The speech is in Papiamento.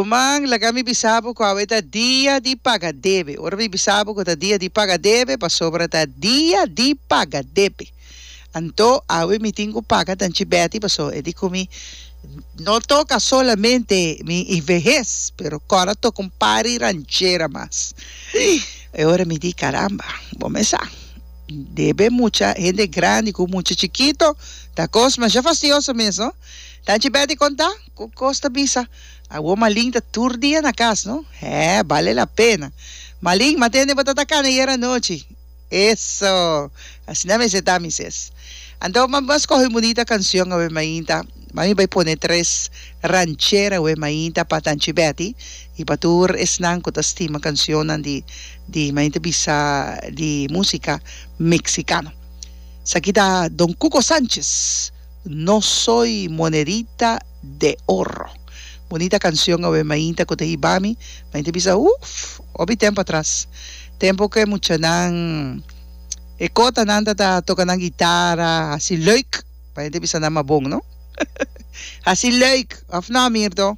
Ruman, laga mi bisa bo ku awe ta dia di paga debe. Ora mi bisa bo ku ta dia di paga debe, pasobra ta dia di paga debe. Anto awe mi tin ku paga Tanchi Betty pasobra e di ku mi no toka solamente mi i vehes, pero kòrda toka un par di ranchera mas. E ora mi di, Caramba, bo mes sa, debe mucha hende grandi ku mucha chikito ta kos masha fastioso mes, no? Tanchi Betty konta ku kos ta bisa. Awor Malin ta tur dia na kas, no? Hè, bale la pena. Malin, m'a tende bo ta ta kana ayer anochi. Eso! Asina mester ta, mi ses. Anto m'a m'a scoge un bunita cancion awe mainta. Mami bai pone tres ranchera awe mainta pa Tanchi Betty y pa tur esnan cu ta stima cancionnan di di mami ta bisa di musica mexicano. Esaki ta Don Cuco Sanchez, No soy monedita de oro. Bunita cancion awe mainta cu ta hiba mi, mami ta bisa uf! Hopi tempo atras. Tempo ku e muchanan e kotanan ta ta toka nan gitara hasi leuk, pa hende bisa nan mabon no. Hasi leuk, of no Mirto?